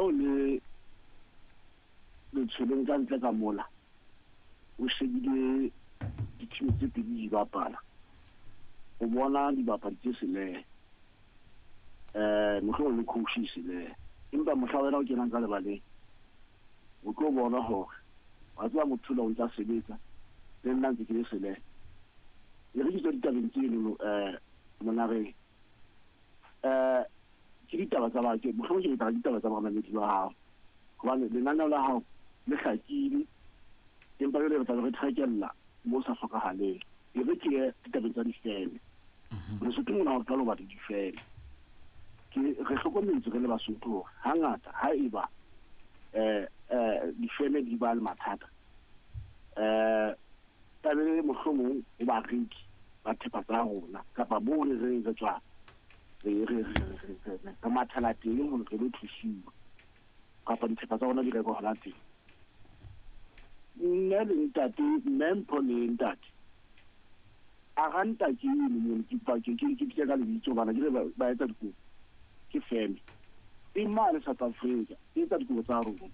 o le letshweleng ka ntle ka mola, o shebile di-team tse pedi di bapala, o bona dibapadi tse selehe, mohlomong le coach e selehe, empa mohla wena o kenang ka lebaleng o tlo bona hore wa tseba motho o ntsa sebetsa le nna ntse ke le selehe. E re ke tswa ditabeng tseno monareng, ke ditaba tsa ba ke mohlomong ke tla ditaba tsa bamamedi ba hao, hobane lenaneo la hao le hlakile, empa jwale re tla be re trekella mo sa hlokahaleng. E re ke ye ditabeng tsa difeme. Lesotho mona ha o qala ho batla difeme, ke re hlokometse re le Basotho hore hangata ha eba difeme di ba le mathata, tlamehile mohlomong ho bareki ba thepa tsa rona kapa moo re reng re tswa re mathela teng hore re lo thusiwa kapa dithepa tsa rona di rekwa hona teng. Nne le ntate, mme Mpho le ntate a ranta ke eno mono, ke ke bitsa ka lebitso hobane ke re ba etsa dikobo, ke feme e mane South Africa e etsa dikobo tsa rona.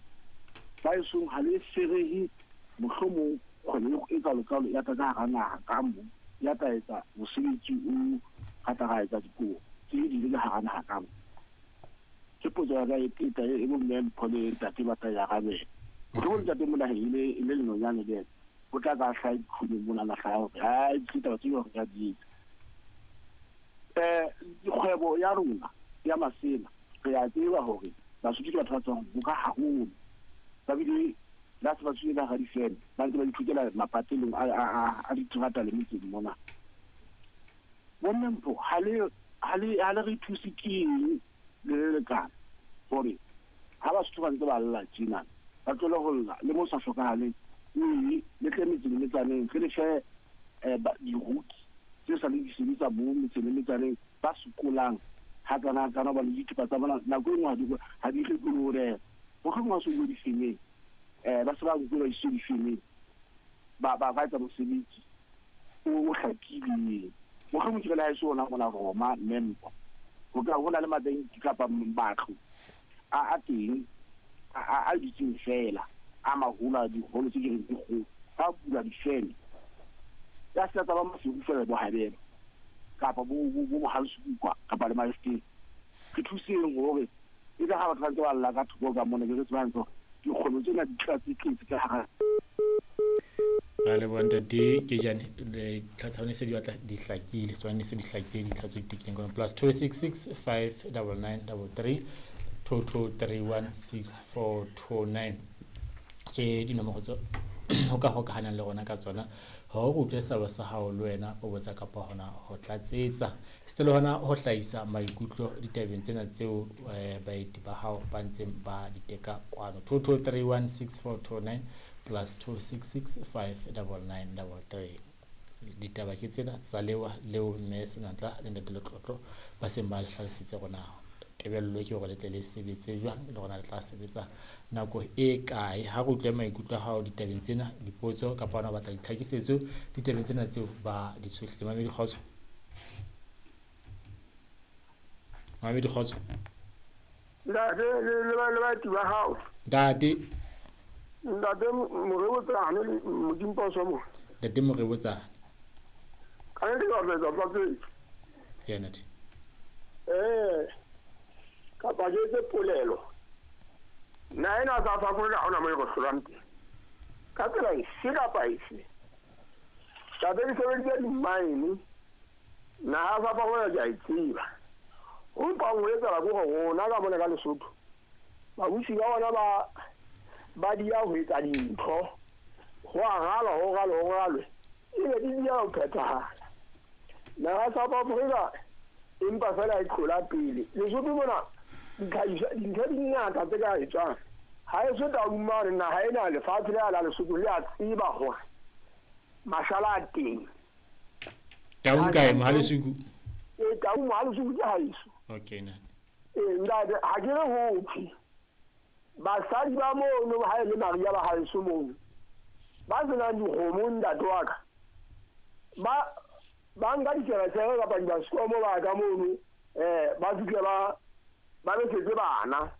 Ba esong ha le ferehe mohlomong kgwebo e kalo-kalo ya tla ka hara naha ka mo, ya tla etsa mosebetsi o ra tla ra etsa dikobo tse di le hara naha ka mo. Ke potso ya ka e tla e bo mme Mpho le ntate ba tla e arabela. Mohlomong ntate Monaheng e le lenonyane le ena o tla ka hlaha dikhunong mona na hlaha hore hai ke taba tseo re ka di etsa. Kgwebo ya rona ya masela re a tseba hore Basotho ke batho ba tswang ho ka haholo, ba bile la se ba tswile ka hara difeme, ba ntse ba ithutela mapatelong a diterata le metseng mona. Bomme Mpho, ha le re thuse ke eng le le lekana hore ha Basotho ba ntse ba lla tjena ba tlohele ho lla le mo sa hlokahaleng, mme le tle metseng le metsaneng re le fe diruki tse sa le di sebetsa mo metseng le metsaneng ba sokolang hakana hakana hobane dithepa tsa bona nako e nngwe ha di rekwe le ho reka. Mohlomong ha se bue difemeng, ba se ba nkuwe ba isitswe difemeng, ba etsa mosebetsi o hlakileng. Mohlomong ke re le ha e se ona mona Roma mme Mpho, ho ka ho na le mabenki kapa matlo a teng a dutseng fela a maholo a diholo tse ke reng ke kgolo, ba bula difeme ya se tsa ba Maseru fela bo Habelo kapa bo Mohalesukwa kapa le Maesteng. Re thuseng hore e tla ha batho ba ntse ba lla ka thoko ka mona, ke re tsebang hore dikgwebo tsena di tla tse tletse ka hara. Ra leboha ntate Kejane, dintlha tsa se di batla di hlakile, tsone se di hlakile dintlha tse di tekileng kono +266 599 33 2231 6429 ke dinomoro tse ho ka hokahanang le rona ka tsona hore o utlwe seabo sa hao le wena o botsa kapa hona ho tlatsetsa se le hona ho hlahisa maikutlo ditabeng tsena tseo baeti ba hao ba ntseng ba di teka kwano. 2231 6429 +266 599 33. Ditaba ke tsena tsa lewa leo mme Senatla le ntate Letlotlo ba seng ba hlalositse rona tebello ke hore le tle le sebetse jwang le rona le tla sebetsa nako e kae. Ha re utlwe maikutlo a hao ditabeng tsena, dipotso kapa hona o batla ditlhakisetso ditabeng tsena tseo ba di tshohlile. Mamedi kgotso, mamedi kgotso. Ntate le baeti ba hao. Ntate. Ntate Morebotsane le Modimposo mo. Ntate Morebotsane. Ka le ba etsa tlatsetso. Yena ntate. Kapa ke etse polelo. Nna ena South Africa ha hona mo e re hlolang teng. Ka tsela efe kapa efe. Tate ke sebeditse di-mine, naha ya South Africa ke a e tseba. Ho mpang ho etsahala ke hore rona ka mona ka Lesotho, babusi ba bona ba dia ho etsa dintho, ho a ralwa, ho ralwe, ho ralwe, ebe di dia ho phethahala. Naha ya South Africa empa fela e tlola pele. Lesotho mona dintho di ngata tse ka etswang. Ha e so Taung mane naha ena lefatshe le la Lesotho le a tseba hore mashala a teng. Taung kae Mohalesuku? Taung Mohalesuku ke haeso. Okay na. Ntate ha ke re ho thwe basadi ba mono ha e le Maria ba haeso mono ba senang dikgomo ntate wa ka ba nka ditsheresere kapa dibaskomo ba ka mono, ba fihle ba besetse bana.